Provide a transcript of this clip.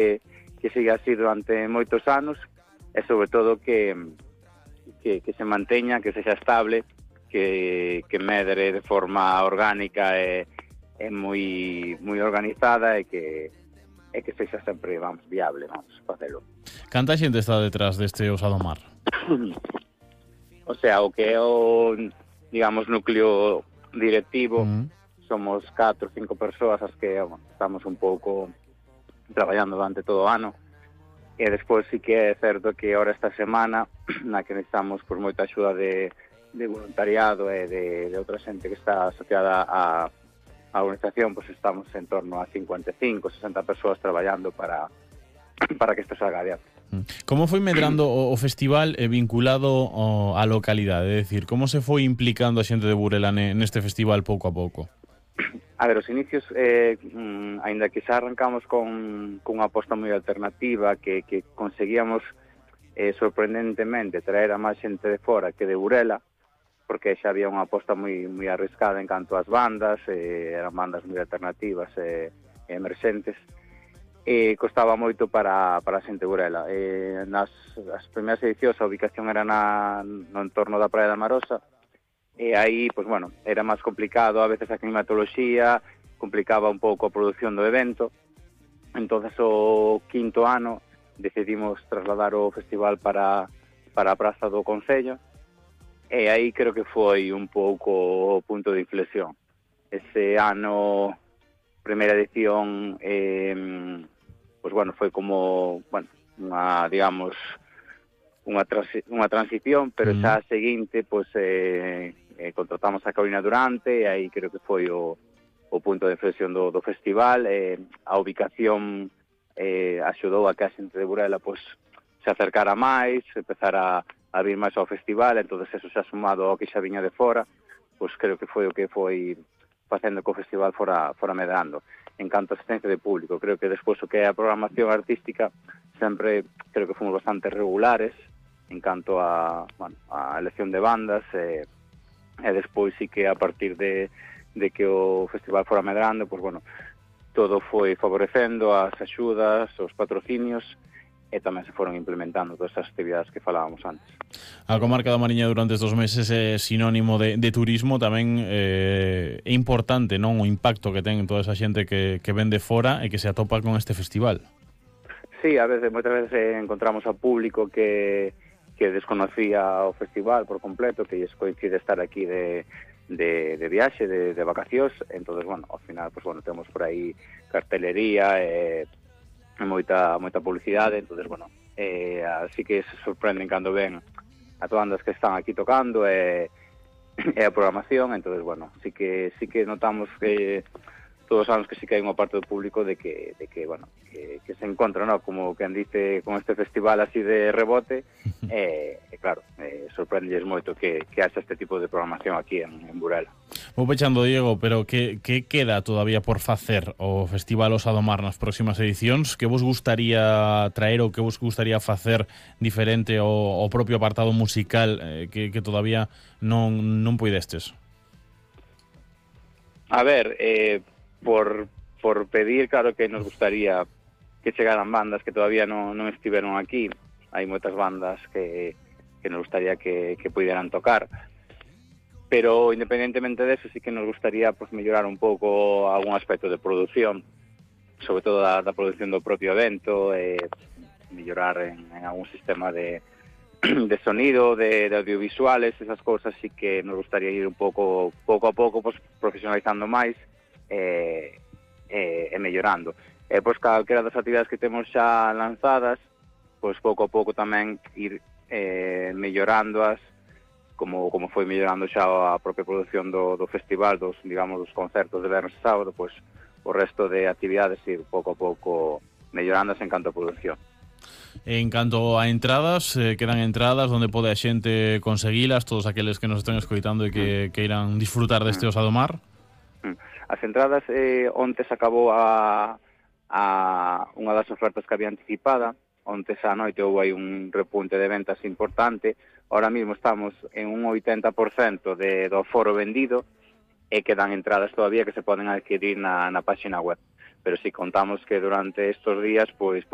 que siga así durante moitos anos e sobre todo que se manteña, que sexa estable, que medre de forma orgánica e moi organizada e que sexa sempre, vamos, viable, vamos, facelo. Canta xente está detrás deste Osa do Mar? O sea, o que é o, digamos, núcleo directivo, somos 4 ou 5 persoas as que estamos un pouco traballando durante todo o ano, e despois sí que é certo que ahora esta semana, na que necesitamos por moita axuda de voluntariado e de outra xente que está asociada a organización, pues estamos en torno a 55, 60 persoas traballando para que isto salga adiante. Como foi medrando o festival vinculado á localidade? É dicir, como se foi implicando a xente de Burela neste festival pouco a pouco? A ver, os inicios, aínda que xa arrancamos con unha aposta moi alternativa, que conseguíamos sorprendentemente traer a máis xente de fora que de Burela, porque xa había unha aposta moi arriscada en canto ás bandas, eran bandas moi alternativas e emerxentes, e costaba moito para a xente de Burela. Nas primeiras edicións a ubicación era no entorno da Praia da Marosa, e aí, pues bueno, era máis complicado, a veces a climatoloxía complicaba un pouco a produción do evento. Entonces o quinto ano decidimos trasladar o festival para a Praza do Concello, e aí creo que foi un pouco o punto de inflexión. Ese ano, primeira edición, pues bueno, foi como, bueno, digamos, unha transición, pero xa a seguinte, pues contratamos a Carolina Durante, e aí creo que foi o punto de inflexión do festival. A ubicación axudou a que a xente de Burela pues se acercara máis, empezar a vir máis ao festival, entonces eso xa sumado ao que xa viña de fora, pues creo que foi o que foi facendo que o festival fora medrando. En canto a asistencia de público, creo que despois o que é a programación artística sempre creo que fomos bastante regulares en canto a elección de bandas, e despois sí que a partir de que o festival fora medrando, pues bueno, todo foi favorecendo as axudas, os patrocinios, e tamén se foron implementando todas as actividades que falábamos antes. A comarca da Mariña durante estes meses é sinónimo de turismo, tamén é importante, non, o impacto que ten toda esa xente que ven de fora e que se atopa con este festival. Sí, moitas veces encontramos a público que desconocía o festival por completo, que lles coincide estar aquí de viaxe, de vacacións. Entonces, bueno, ao final, pues bueno, temos por aí cartelería e moita publicidade. Entonces, bueno, así que se sorprenden cando ven as bandas que están aquí tocando e a programación. Entonces, bueno, sí que notamos que todos os anos que sí que hai unha parte do público de que bueno, que se encontra, ¿no?, como quen dice, con este festival así de rebote, e claro, sorprendelles moito que haxa este tipo de programación aquí en Burela. Vou pechando, Diego, pero que queda todavía por facer o Festival Osa do Mar nas próximas edicións? Que vos gustaría traer ou que vos gustaría facer diferente ao propio apartado musical que todavía non puidestes? A ver, por pedir, claro que nos gustaría que chegaran bandas que todavía non estiveron aquí. Hai moitas bandas que nos gustaría que pudieran tocar, pero independentemente de eso sí que nos gustaría pues mellorar un pouco algún aspecto de produción, sobre todo da produción do propio evento, mellorar en algún sistema de sonido, de audiovisuales, esas cousas sí que nos gustaría ir un pouco a pouco pues profesionalizando máis e mellorando. Pois calquera das actividades que temos xa lanzadas, pois pouco a pouco tamén ir mellorándoas, como foi mellorando xa a propia produción do festival, dos concertos de vernos e sábado, pois o resto de actividades ir pouco a pouco mellorándoas en canto a produción. En canto a entradas, quedan entradas onde pode a xente conseguilas, todos aqueles que nos estén escoitando e que queiran disfrutar deste Osa do Mar? As entradas, onte se acabou unha das ofertas que había anticipada. Onte esa noite houve aí un repunte de ventas importante. Ahora mismo estamos en un 80% do foro vendido e quedan entradas todavía que se poden adquirir na página web. pero si contamos que durante estos días pois